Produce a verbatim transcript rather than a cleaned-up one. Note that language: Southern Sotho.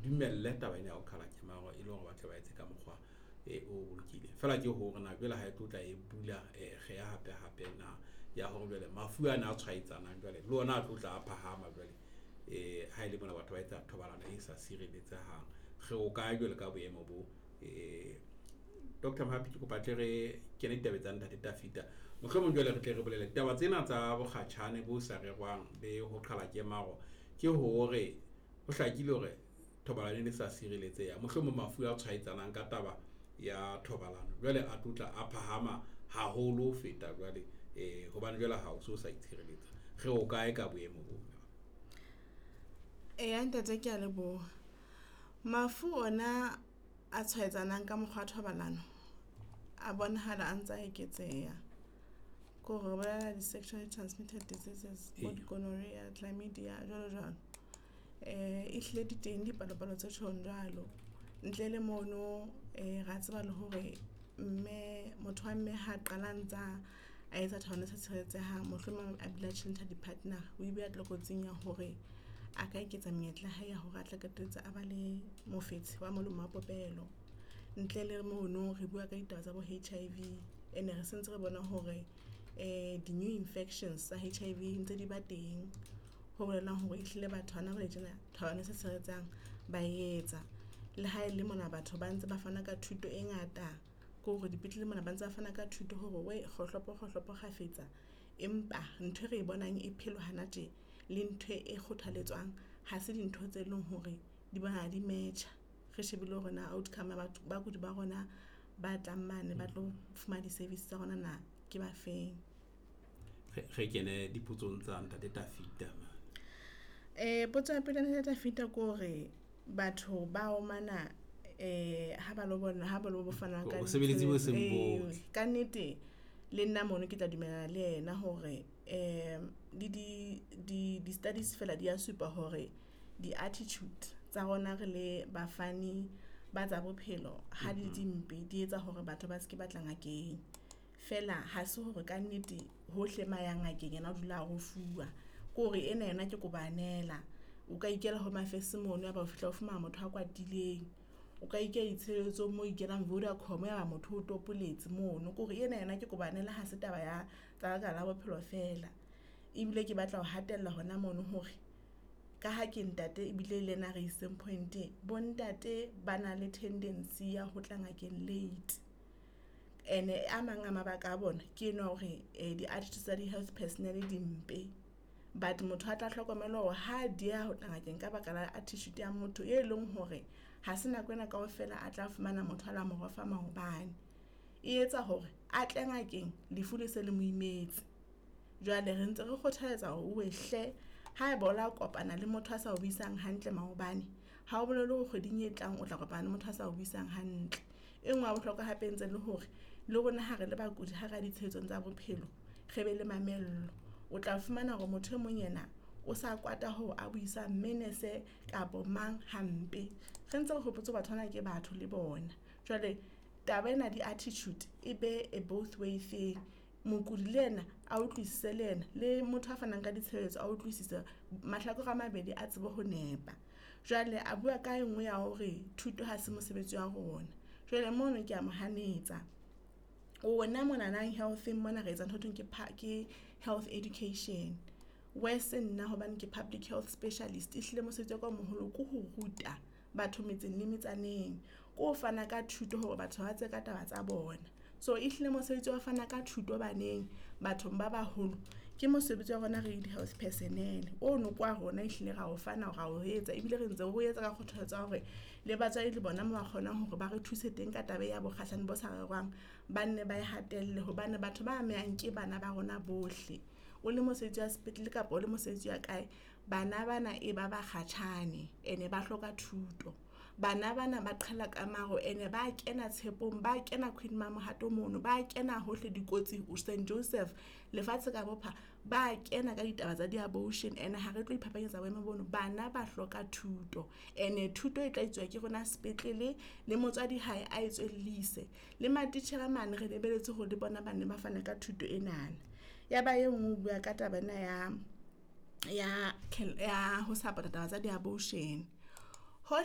Dumelle taba ena ya ho qhala kemaro e le hore ba tle ba etse ka mokgwa e o bolokile. Feela ke hore na jwale ha e tlo tla e bula kgeha hape hape na ya hore jwale mafu ana a tshwaetsanang jwale le ona a tlo tla a phahama jwale. Eh ha ele mona batho ba etsa thobalano e sa sireletsehang. Re o kae jwale ka boemo bo? Eh Doctor Mohapi ke kopa tle re kene ditabeng tsa ntate Tafita. Mohlomong jwale re tle re bolele taba tsena tsa bokgatjhane bo sa rerwang le ho qhala kemaro, ke hore ho hlakile hore thobalano e ne sa sireletseha. Mohlomong mafu a tshwaetsanang ka taba ya thobalano jwale a tlotla a phahama haholo ho feta jwale eh hobane jwale ha o so sa itshireletsa. Re o kae ka boemo bo? Eya ntate ke a leboha. Mafu ona a tshwaetsanang ka mokgwa wa thobalano a bonahala a ntsa eketseha. Ko re bolela di-sexually transmitted diseases, bo di-gonorrhea, chlamydia jwalo jwalo. Eh ehlile di teng dipalopalo tse tjhong jwalo. Ntle le mono eh ra tseba le hore mme motho wa mme ha qala ntsa a etsa thobalano e sa tshireletsehang, mohlomong a bile a tjhentjha di-partner-a. O e beha tlokotsing ya hore a ka eketsa menyetla ya hae ya hore a tla qetelletse a ba le mofetshe wa molomo wa popelo. Ntle le mono re bua ka ditaba tsa bo H_I_V ene re sentse re bona hore eh di-new infections tsa H_I_V ntse di ba teng. Ho bolelang hore ehlile batho hona jwale tjena thobalano e sa tshireletsang ba etsa. Le ha ele mona batho ba ntse ba fana ka thuto e ngata ko hore dipetlele mona ba ntse ba fana ka thuto hore we kgohlopo kgohlopo kgafetsa. Empa ntho e re bonang e phelwa hana tje le ntho e kgothaletswang ha se dintho tse leng hore di bonahala di metjha. Re shebile hore na outcome ya batho bakudi ba rona ba tlang mane ba tlo fumana di-service tsa rona na ke ba feng. Re kene dipotsong tsa ntate Tafita. Eh potso ya pele ntate Tafita ke hore batho ba omana eh ha ba lo bona ha ba lo fana ka Bosebeletsi bo seng botle. Ka nnete le nna mono ke tla dumellana le yena hore eh le di di di studies fela di a supa hore di attitude tsa rona re le bafani ba tsa bophelo ha di dimpe di etsa hore batho ba seke batla ngakeng. Fela ha se hore ka nnete hohle ma yang ngakeng yena o dula a rofuwa. Ke hore ena yona ke kobanela. O ka ikela Home Affairs mono ya ba o fihla o fumana motho a kwatileng. O ka ikela ditshebeletsong mo ikelang Vodacom ya ba motho o topoletse mono. Ke hore ena yona ke kobanela ha se taba ya tsa lekala la bophelo fela. Ebile ke batla ho hatella hona mono hore ka ha ke ntate ebile le yena re iseng point. Bo ntate ba na le tendency ya ho tla ngakeng late. Ene a mang a mabaka a bona ke ena hore di-attitude tsa di-health personnel di mpe. But motho a tla hlokomela hore ha dieha ho tla ngakeng ka baka la attitude ya motho e leng hore ha se nako ena kaofela a tla fumana motho a la mo rofa maobane. E etsa hore a tle ngakeng lefu le se le mo imetse. Jwale re ntse re kgothaletsa hore owe hle haeba o la kopana le motho a sa o buisang hantle maobane, ha o bolele hore kgweding e tlang o tla kopana le motho a sa o buisang hantle. E nngwe ya bohlokwa hape ntse le hore le rona ha re le bakudi ha re ditshebetsong tsa bophelo, re be le mamello. O tla fumana hore motho e mong yena o sa kwata hore a buisa mme nurse kapa mang hampe. Re ntse re hopotse batho bana ke batho le bona. Jwale taba ena di attitude e be a both way thing. Mokudi le yena a utlwisise le yena le motho a fanang ka ditshebeletso a utlwisise mahlakore a mabedi a tsebe ho nepa. Jwale a bua ka e nngwe ya hore thuto ha se mosebetsi wa rona. Jwale mono ke a mo hanetsa. Rona monana health-eng mona re etsa ntho e thweng ke ke health education. Wese nna hobane ke public health specialist. Ehlile mosebetsi wa ka o moholo ke ho ruta batho metseng le metsaneng. Ko fana ka thuto hore batho ba tsebe ka taba tsa bona. So ehlile mosebetsi wa fana ka thuto baneng bathong ba baholo ke mosebetsi wa rona re di-health personnel. Ono kwa rona ehlile ra o fana ra o etsa ebile re ntse re o etsa ka kgothaletso ya hore le batswadi le bona mo ba kgonang hore ba re thuse teng ka taba ya bokgatjhane bo sa rerwang, ba nne ba e hatelle hobane batho ba amehang ke bana ba rona bohle. O le mosebetsi wa sepetlele kapa o le mosebetsi wa kae, bana bana e ba bakgatjhane ene ba hloka thuto. Bana bana ba qhala ka maro ene ba kena tshepong, ba kena Queen Mamohato mono, ba kena hohle dikotsi Saint Joseph lefatshe ka bophara ba kena ka ditaba tsa di-abortion. Ene ha re tlo iphapanyetsa boemo bono, bana ba hloka thuto. Ene thuto e tla etsuwa ke rona sepetlele le motswadi hae a etswellise le matitjhere mane re lebelletse hore le bona bane ba fane ka thuto enana. Ya ba e nngwe o bua ka taba ena ya ya ya ho support-a taba tsa di-abortion. Hohle